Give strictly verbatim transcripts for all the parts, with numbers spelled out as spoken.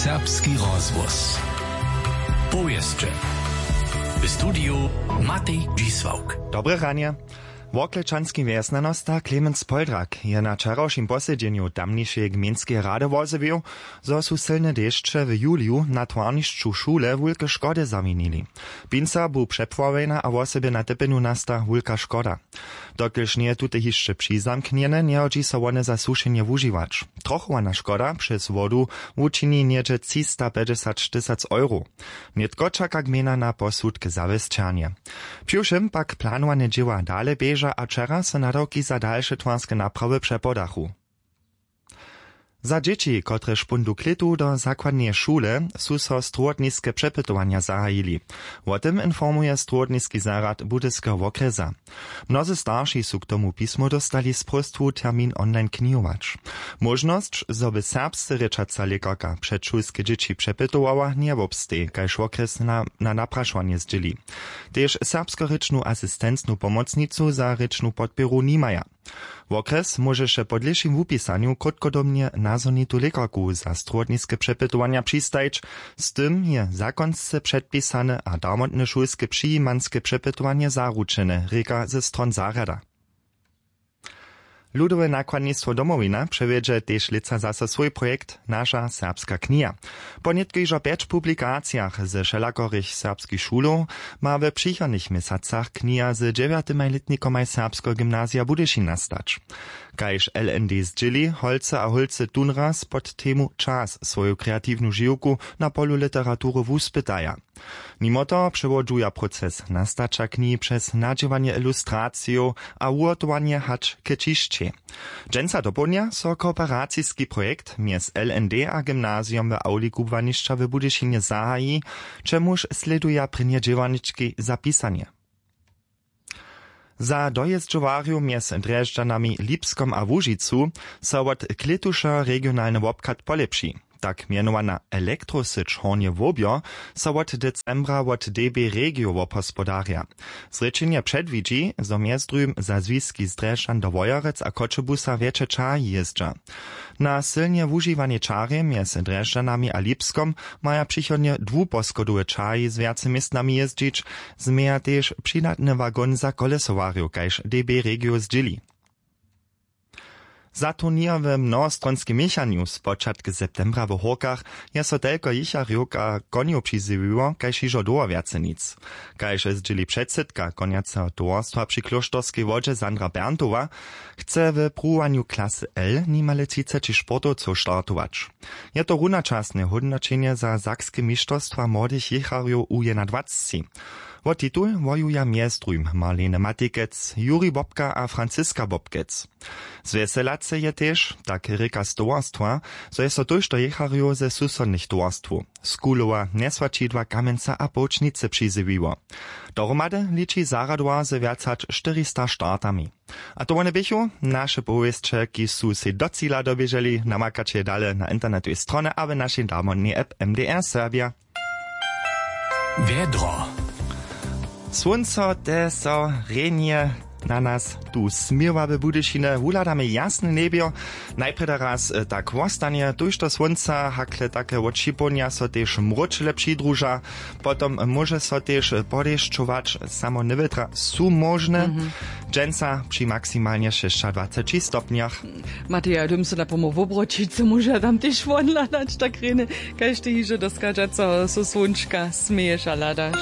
Serbski rozhłos. Powěsće. W studiju Matej Dźisławk. Dobre ranje. Worklečanski wjesnjanosta Clemens Poldrak je na wčerawšim posedźenju tamnišeje gmejnskeje rady wozjewił, zo su sylne dešće w juliju na twarnišću šule wulke škody zawinili. Pinsa bu přepławjena a wosebje na typjenju nasta wulka škoda. Dokelž njeje tute hišće přizamknjene, njehodźi so wone za sušenje wužiwać. Trochowana škoda přez wodu wučini něhdźe třistapjećdźesat tysac euro. Nětko čaka gmejna na posudk zawěsćernje. Přiwšěm pak planowane dźěła dale běža a wčera so nadawki za dalše twarske naprawy přepodachu. Za dźěći, kotrež póńdu klětu do zakładneje šule, su so strowotniske přepytowanja zahajili. Wo tym informuje strowotniski zarjad Budyskeho wokrjesa. Mnozy starši su k tomu pismo dóstali z próstwu termin online knihować. Móžnosć, zo by serbsce rěčaca lěkarka předšulske dźěći přepytowała, njewobsteji, kaž wokrjes na, na naprašowanje zdźěli. Tež serbskorěčnu asistencnu pomocnicu za rěčnu podpěru nimaja. Wokrjes móžeše po dlěšim wupisanju krótkodobnje nazhonitu lěkarku za strowotniske přepytowanja přistajić. Z tym je zakonsce předpisane a darmotne šulske přijimanske přepytowanje zaručene, rěka ze stron zarjada. Ludowe nakładnistwo Domowina přewjedźe tež lětsa zaso swój projekt Naša serbska kniha. Po nětko hižo pjeć publikacijach ze wšelakorych serbskich šulow ma w přichodnych měsacach kniha z dźewjatymaj lětnikomaj Serbskeho gymnazija Budyšin nastać. Kaž L N D zdźěli, holcy a hólcy tónraz pod temu Čas swoju kreatiwnu žiwku na polu literatury wuspytaja. Nimo toho přewodźuja proces nastaća knihi přez nadźěłanje ilustracijow a wuhotowanje hač k ćišćej. Dźensa dopołdnja so kooperaciski projekt mjez L N D a gymnazijom w awli kubłanišća w Budyšinje zahaji, k čemuž slěduja prěnje dźěłarnički za pisanje. Za dojězdźowarjow mjez Drježdźanami, Lipskom a Łužicu so wot klětuša regionalny wobchad polěpši. Tak mjenowana elektrosyć Hornje Łobjo so wot decembra wot D B Regio wobhospodarja. Zrěčenje předwidźi, zo mjez druhim za zwiski z Drježdźan do Wojerec a Choćebuza wjetše ćahi jězdźa. Na sylnje wužiwanej čarje mjez Drježdźanami a Lipskom maja přichodnje dwuposchodowe ćahi z wjace městnami jězdźić, změja tež přidatny wagon za kolesowarjow, kaž D B Regio zdźěli. Za turněr w mnohostronskej měchanju spočatk septembra w Hórkach je so telko jěcharjow a konjow přizjewiło kaž hižo dołho wjace nic. Kaž zdźěli předsydka konjaceho towarstwa při klóšterskej wodźe Sandra Berntowa, chce w pruwowanju klasy L nimale třiceći sportowcow startować. Je to runačasne hódnoćenje za sakske mišterstwa młodych jěcharjow u jedynadwacci. Wo titul wojuja mjez druhim Marlene Matikec, Juri Bobka a Franziska Bobkec. Zwjeselace je tež, tak rěka z towarstwa, zo je so tójšto jěcharjow ze susodnych towarstwow, z Kulowa, Njeswaćidła, Kamjenca a Połčnicy přizjewiło. Dohromady liči zarjadowar ze wjac hač štyrista startami. A to wone běchu naše powěsće, kiž su sej do cila doběželi. Namakaće je dale na internetowej stronje a w našej damodnej app M D R Serbia. Wjedro. Słónco te so rjenje na nas tu směwa w Budyšinje. Wuhladamy jasne njebjo. Najprjedy raz, e, tak wostanje, tójšto słónca, hakle take wot šipołdnja so tež mróčele přidruža. Potom móže so tež podešćować, samo newětra su móžne. Dźensa při maksimalnje šěsćadwaceći stopnjach. Mateja, hdym so na pomoł wobroćić, so móža tam tež wonhladać tak rjeny, kaž ty hižo do schodźaceho so słónčka směješ a hladaš.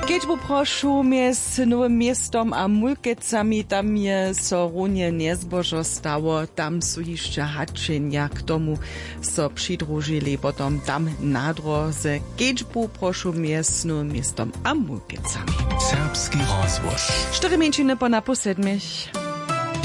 Kedźbu prošu mjez Nowym Městom a Mulkecami, tam je so runje njezbožo stało, tam su hišće hačenja k tomu so přidružili potom tam na dróze. Kedźbu prošu mjez Nowym Městom a Mulkecami. Serbski rozhłos. Štyri mjeńšiny po napoł sedmich.